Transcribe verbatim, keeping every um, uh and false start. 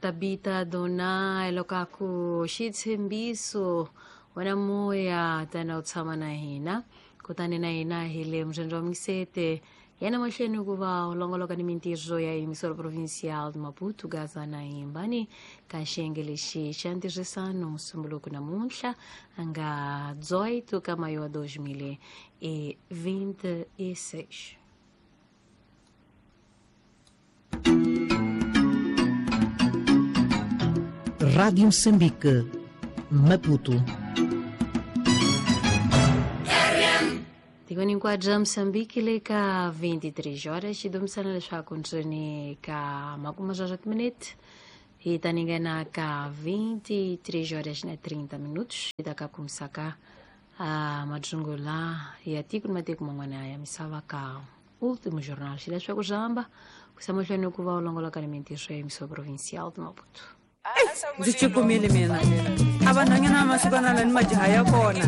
Tabita Dona lokaku xitshembiso wena moya tana u tshama na hina kutani na hina hi le murhandzi wa misete yena mahlweni ku va u longoloka ni mintirho ya emissora provincial de Maputo Gaza na Imbani ka xiyenge lexi xa ntirhisano musumbuluko namuntlha a nga dezoito ka maio dois mil e vinte e seis. Rádio Moçambique, Maputo. Tikweni hinkwabyo Moçambique le ka vinte e três horas xi domisana leswaku ndzeni ka makume swa timinete hi ta ningena ka vinte e três horas na trinta minutos hi ta ka kumisaka a madzungula ya tiko ni matiko man'wana ya misava ka último jornal xi leswaku swi hamba ku sa mahlweni ku va u longoloka ni mintirho ya emissora provincial de Maputo. Ndzi cukumile mina a vanhwanyana va masiku ni majaha ya kona.